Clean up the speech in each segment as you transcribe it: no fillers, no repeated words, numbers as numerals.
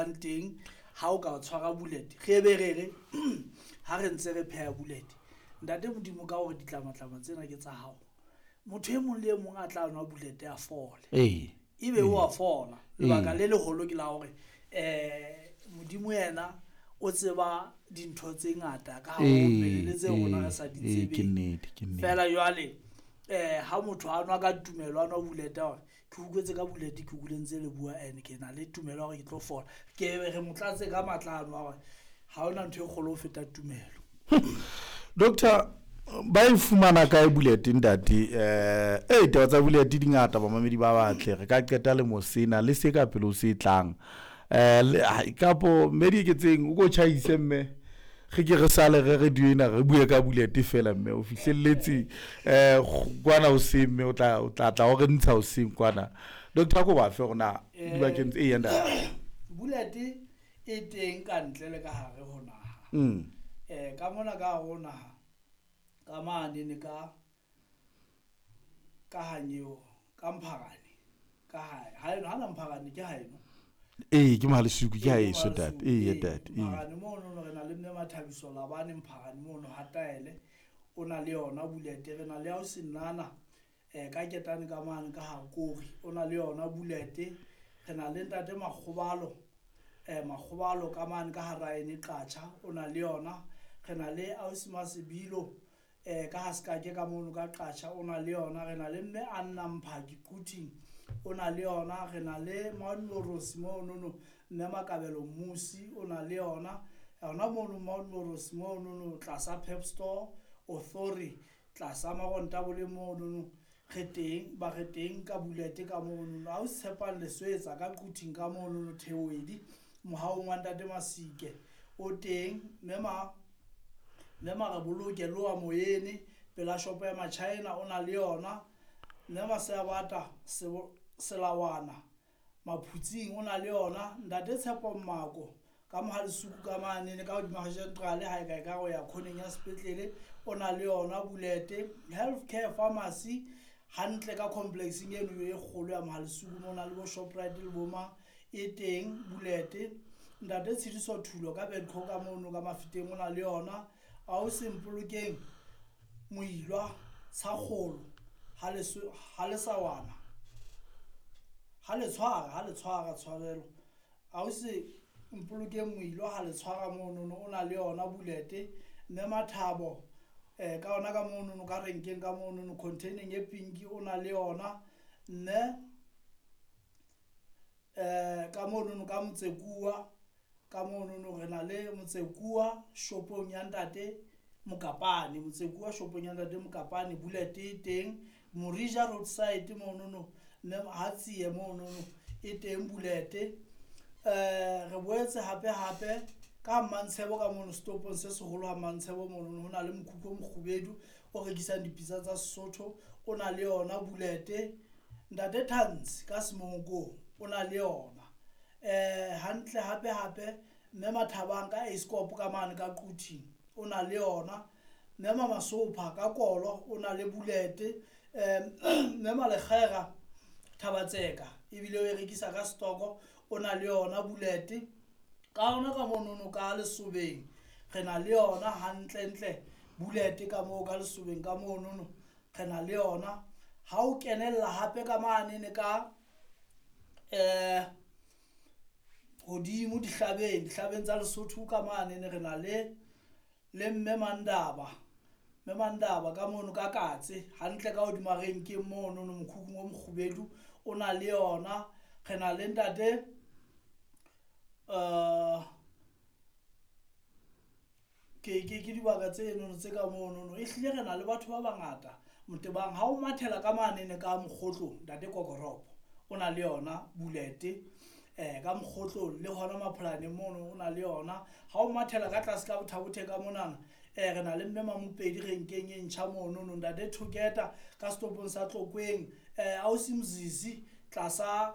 tholang teng ha o ka tshwara bullet. Re be re re ha re ntse re pheha bullet, ntate Modimo ka hore ditlamatlama tsena ke tsa hao, motho e mong le e mong a tla nwa bullet a fole. Ebe o a fola. Lebaka le leholo ke la hore Modimo yena o tseba dintho tse ngata ka hare ho mmele le tse rona re sa di tsebeng. Feela jwale ha motho a nwa ka tumelo, a nwa bullet hore ke utlwetse ka bullet, ke utlwile ntse le bua and ke na le tumelo ya hore ke tlo fola, ke re mo tlatse ka matla ano a hore ha hona ntho e kgolo ho feta tumelo. Doctor, ba e fumana kae bullet, ntate? Taba tsa bullet di ngata, bamamedi ba batle. Re ka qeta le mosena le se ka pele o se tlang. Kapo mme di eketseng o ko tjhaise, mme re ke re sale re re ena re bue ka bullet fela, mme o fihlelletse kwana hoseng, mme o tla tla o re ntsha hoseng kwana. Doctor, ko ba fe hore na dibakeng tse e ntate. Bullet e teng ka ntle le ka hare ho naha. Ka mona ka hare ho naha, ka mane ne ka hanyeo ka Mpharane, ka hae ha hana Mpharane ke haeno. Ee, ke Mohalesuku, ke haeso, ntate. Ee, ntate, ee. Mpharane mono re na le mme Mathabiso Labane Mpharane mono ha taele, o na le yona bullet. Re na le ya ho senana ka ketane ka mane ka Hakori, o na le yona bullet. Re na le ntate Makgobalo, Makgobalo ka mane ka Haraene Qacha, o na le yona. Re na le ausi Masebilo ka ha sekake ka mono ka Qacha, o na le yona. Re na le mme Anna Mphaki Quthing, o na le yona. Re na le Mount Morosi monono, mme Makabelo Mmusi o na le yona yona mono Mount Morosi monono tlasa Pep Store Authority, tlasa Marontabole monono. Re teng ba re teng ka bullet ka monono. Ha o tshepang leswetsa ka Quthing ka monono Theoedi mohaong wa ntate Masike o teng. Mme ma re boloke loa moyene pela shopo ya Machina, o na le yona. Mme Masebata Selawana Maphutsing o na le yona. Ntate Tshepo Mmako ka Mohalesuku ka mane ka hodima Central ha e ka e ka go ya khoneng ya sepetlele, o na le yona bullet. Healthcare Pharmacy hantle ka complexeng eno e kgolo ya Mohalesuku mo na le bo Shoprite le bo mang, e teng bullet. Ntate Tshidiso Thulo ka Bedco ka mono ka Mafeteng, o na le yona. Ausi Mpolokeng Moilwa Tshakgolo ha le sawana ha le tshwara tshwarelo, ausi Mpolokeng Moilwa ha le tshwara monono, o na le yona bullet. Mme Mathabo ka ona ka monono ka renkeng ka monono containing e pink, o na le yona. Mme ka monono ka Motsekuwa ka monono, re na le Motsekuwa shopong ya ntate Mokapane, Motsekuwa shopong ya ntate Mokapane, bullet e teng. Morija roadside monono, mme ha tsie monono e teng bullet. Re boetse hape hape ka Mantshebo ka mono setopong se seholo ha Mantshebo monono, ho na le mokhukhu o mokgubedu o rekisang dipitsa tsa Sesotho, o na le yona bullet. Ntate Thansi ka Semonkong o na le yona. Hantle hape hape mme Mathabang ka Escop ka mane ka Quthing o na le yona. Mme Mamasopha ka Kolo o na le bullet. Mme Malekgera Thabatseka ebile o e rekisa ka stoko, o na le yona bullet. Ka ona ka monono ka Lesobeng re na le yona hantle ntle bullet, ka moo ka Lesobeng ka monono re na le yona. Ha o kenella hape ka mane ka hodimo dihlabeng tsa Lesotho ka mane re na le mme Mandaba, mme Mandaba ka mono ka Katse hantle ka hodima renkeng mono no mokhukhung o mokgubedu, o na le yona. Re na le ntate ke dibaka tse nono tse ka monono. E hlile re na le batho ba bangata Motebang. Ha o mathela ka manene ka Mokgotlong, ntate Kokoropo o na le yona bullet ka Mokgotlong, le hona Mapholaneng mono o na le yona. Ha o mathela ka tlase ka Bothabothe ka monana, re na le mme Mamopedi renkeng e ntjha monono. Ntate Thoketa ka setopong sa Tlokweng, ausi Mzizi tlasa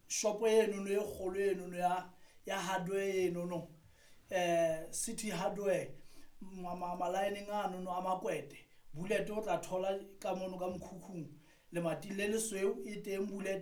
shopo enono e kgolo enono ya hardware enono, City Hardware, malaeneng anono a makwete, bullet o tla thola ka mono ka mokhukhung lemating le lesweu e teng bullet.